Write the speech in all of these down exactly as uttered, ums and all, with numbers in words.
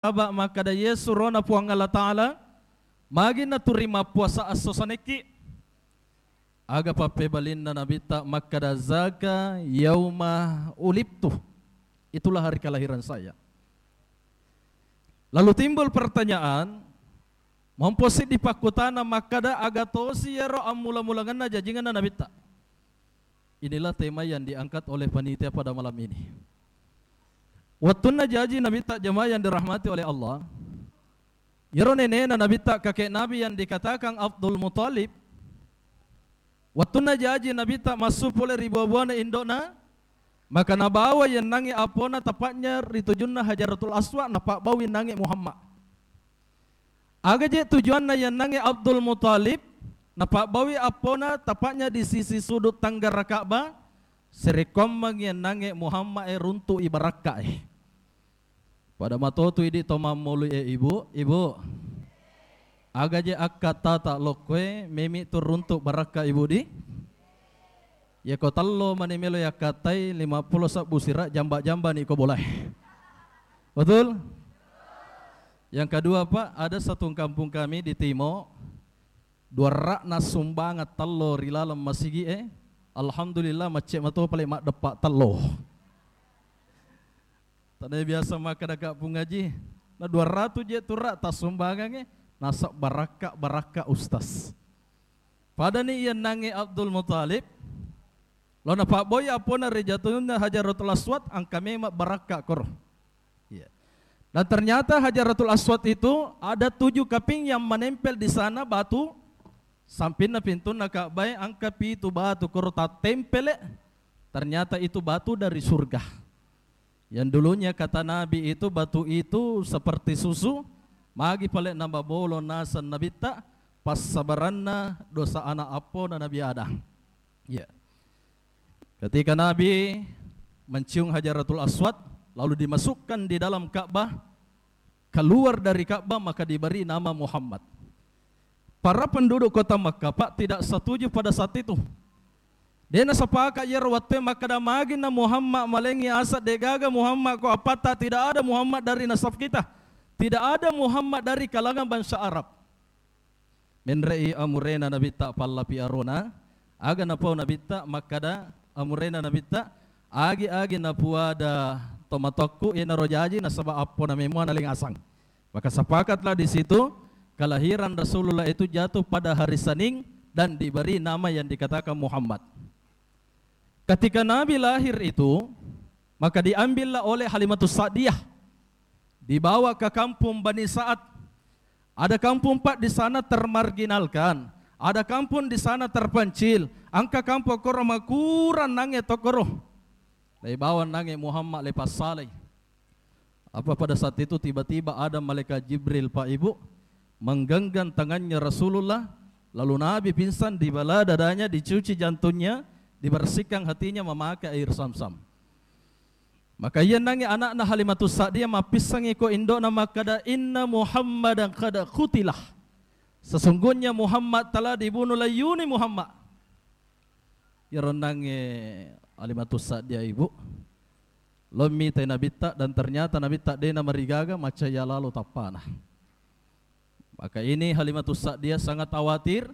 Saba makkeda, "Yesu rona Puang Allah Ta'ala, magi naturi mappuasa esso sanekki?" Aga pappebalinna Nabitta makkeda, "Zaka yauma ulidtu." Itulah hari kelahiran saya. Lalu timbul pertanyaan, mompo siddi pakkutana makkeda, aga tosi iyaro ammula-mulangenna jajingenna Nabitta? Inilah tema yang diangkat oleh panitia pada malam ini. Wettunna jaji Nabitta, jamaah yang dirahmati oleh Allah, iyaro nenena Nabitta, kakek Nabi yang dikatakan Abdul Muthalib, wettunna jaji Nabitta massu pole ri bua-buana indo'na, maka nabawa yennangnge appona, tepatnya ri tujunna Hajaratul Aswad, napabbawi nangnge Muhammad. Aga je tujuanna yennangnge Abdul Muthalib napabbawi appona, tepatnya di sisi sudut tenggara Ka'bah, serekkoammeng yennangnge Muhammad e runtu'i barakka e. Pada matotu idi to mammolui e, Ibu, Ibu. Aga je akkattata lokkoe memi tu runtu barakka, Ibu di? Yako tello mani melo yakkattai, lima pulo sebbu sira, jamba-jamba ni ko bolae. Betul? Yang kedua, Pak, ada satu kampung kami di Timo, dua ra'na sumbangeng tello ri laleng masigi e. Alhamdulillah, macce mato pale maddeppa tello. Tania biasa makkeda Kampung Aji, na dua ratu je tu ra tassumbangangnge, nasab barakka, barakka, Ustaz. Padani iyennangnge Abdul Muthalib, lo napabboi appona ri jatunna Hajaratul Aswad, engka memang barakka koro. Iya. Dan ternyata Hajaratul Aswad itu ada tujuh kaping yang menempel di sana batu, sampinna pintunna Ka'bah e engka pitu batu koro tattempele, ternyata itu batu dari surga. Yang dulunya kata Nabi itu, batu itu seperti susu, magi pale namabolo naseng Nabitta, passabaranna dosa anak appona Nabi Adam. Ya. Ketika Nabi mencium Hajaratul Aswad, lalu dimasukkan di dalam Ka'bah, keluar dari Ka'bah, maka diberi nama Muhammad. Para penduduk kota Makkah, Pak, tidak setuju pada saat itu. Dena sepakat iyaro wettu e makkeda, "Magi na Muhammad malengi asa, degaga Muhammad ko apatta, tidak ada Muhammad dari nasab kita. Tidak ada Muhammad dari kalangan bangsa Arab." Menre'i amurena Nabitta pallapi arona, aga napau Nabitta makkeda, amurena Nabitta, "Agi-agi napuada tomatoakku, iyanaro jaji nasaba appona memua nalengasang." Maka sepakatlah di situ, kelahiran Rasulullah itu jatuh pada hari Senin dan diberi nama yang dikatakan Muhammad. Ketika Nabi lahir itu, maka diambillah oleh Halimatus Sa'diyah, dibawa ke kampung Bani Sa'ad. Ada kampung, Pak, di sana termarginalkan, ada kampung di sana terpencil, engka kampung koro makurang nangnge tokoro. Laibawa nangnge Muhammad, laipassalai. Apa pada saat itu tiba-tiba ada malaikat Jibril, Pak Ibu, menggenggam tangannya Rasulullah, lalu Nabi pingsan, dibelah dadanya, dicuci jantungnya, dibersihkan hatinya memakai air Zamzam. Maka iyennangnge anakna Halimatus Sa'diyah mappissangi ko indo'na makkeda, "Inna Muhammadan qad qutilah." Sesungguhnya Muhammad telah dibunuh, laiyuni Muhammad. Iyaro ennangnge Halimatus Sa'diyah, Ibu, lo mitai Nabitta, dan ternyata Nabitta de namarigaga, macca iya lalo tappana. Maka ini Halimatus Sa'diyah sangat khawatir.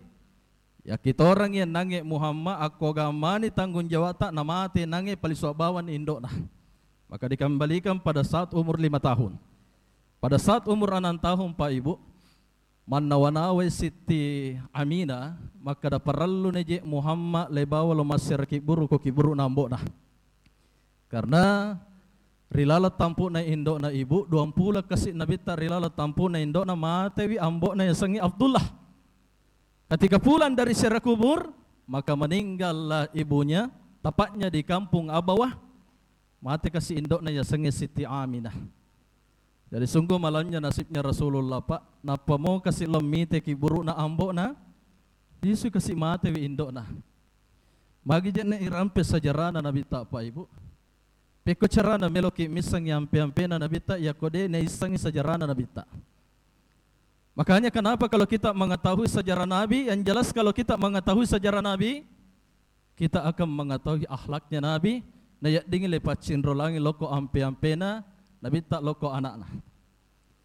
Yakkitorang iyennangnge Muhammad, akko gammani tanggung jawabta, namate nangnge palisua bawang indo'na. Maka dikembalikan pada saat umur lima tahun. Pada saat umur enam tahun, Pak Ibu, mannawa-nawai Sitti Aminah, makkeda, "Parelluni je Muhammad laibawa lo massera kibburu ko kibburu'na ambo'na." Karena ri laleng tampu'na indo'na, Ibu, duampulo kasi Nabitta ri laleng tampu'na indo'na, matewi ambo'na yasengnge Abdullah. Ketika pulang dari ziarah kubur, maka meninggallah ibunya, tepatnya di kampung Abawah. Mate kasi indo'na yasengnge Sitti Aminah. Jadi sungguh malamnya nasibnya Rasulullah, Pak. Nappa mo kasi lo mite kibburu'na ambo'na, lisu kasi matewi indo'na. Magi je'ne irampe sejarahna Nabitta, Pak Ibu? Pekko carana meloki missengngi ampe-ampena Nabitta, yakko de naissengngi sejarahna Nabitta? Makanya kenapa kalau kita mengetahui sejarah Nabi, yang jelas kalau kita mengetahui sejarah Nabi, kita akan mengetahui akhlaknya Nabi, nayaddingi le paccinrolangi lokko ampe-ampena Nabitta, lokko anakna.